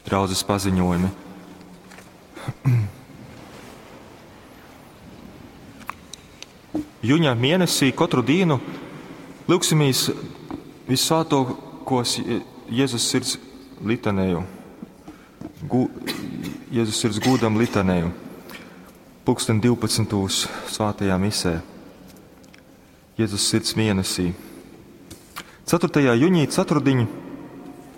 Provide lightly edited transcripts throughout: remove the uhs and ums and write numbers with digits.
Draudzes paziņojumi. Juņa mēnesī katru dienu lūgsimies Vissvētākos Jēzus sirds litaneju. Jēzus sirds gūdam litaneju. Pulksten 12. Svētajā misē. Jēzus sirds mēnesī. 4. jūnijā ceturtdiņ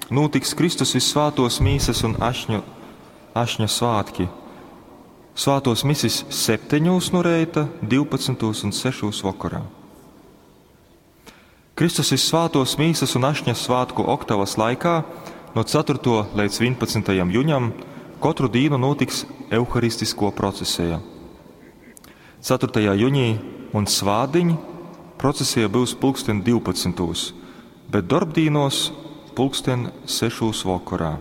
notiks Kristus Vissvētos mīsas un ašņa svētki. Svētos misis 7 no reita, 12 un 6 vakarā. Kristus Vissvētos mīsas un ašņa svētku oktavas laikā no 4. līdz 11. jūnijam katru dienu notiks euharistisko procesija. 4. jūnijā un svādiņ procesija būs pulksten 12, bet darbdīnos pulksten 6 vakarā.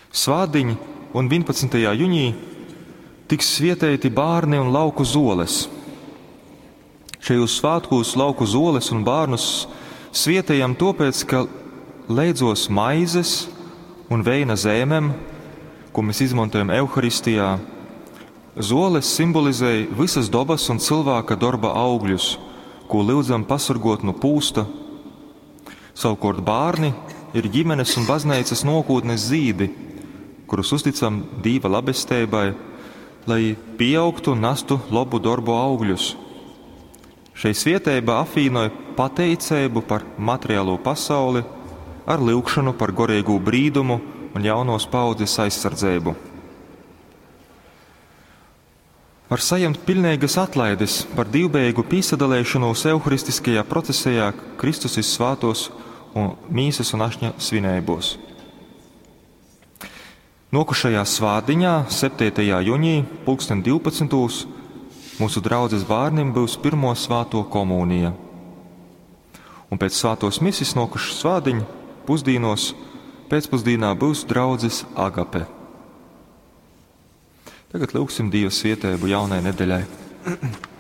Svādiņ un 11. jūnijā tiks svietēti bārni un lauku zoles. Šajos svētkos lauku zoles un bārnus svietējam tāpēc, ka leidzos maizes un veina zēmem, ko mēs izmantojam Euharistijā, zoles simbolizēja visas dabas un cilvēka darba augļus, ko lūdzam pasargot no pūsta. Savukārt bārni ir ģimenes un baznīcas nokūtnes zīdi, kurus uzticam Dīva labestībai, lai pieaugtu un nestu labu darbu augļus. Šai svietēba apvienoja pateicību par materiālo pasauli ar lūgšanu par gorīgo brīdumu un jaunos paudzes aizsardzību. Var saņemt pilnīgas atlaides par divbeigu pīsadalīšanos euharistiskajā procesijā Kristus svētos un mīsas un ašņa svinībos. Nokušajā svādiņā, 7. jūnijā, pulksten 12. Mūsu draudzes bērniem būs pirmo svāto komunija. Un pēc svātos misis nokušas svādiņa pusdienos pēcpusdienā būs draudzes agape. Tagad lūgsim Dieva svietēbu jaunai nedēļai.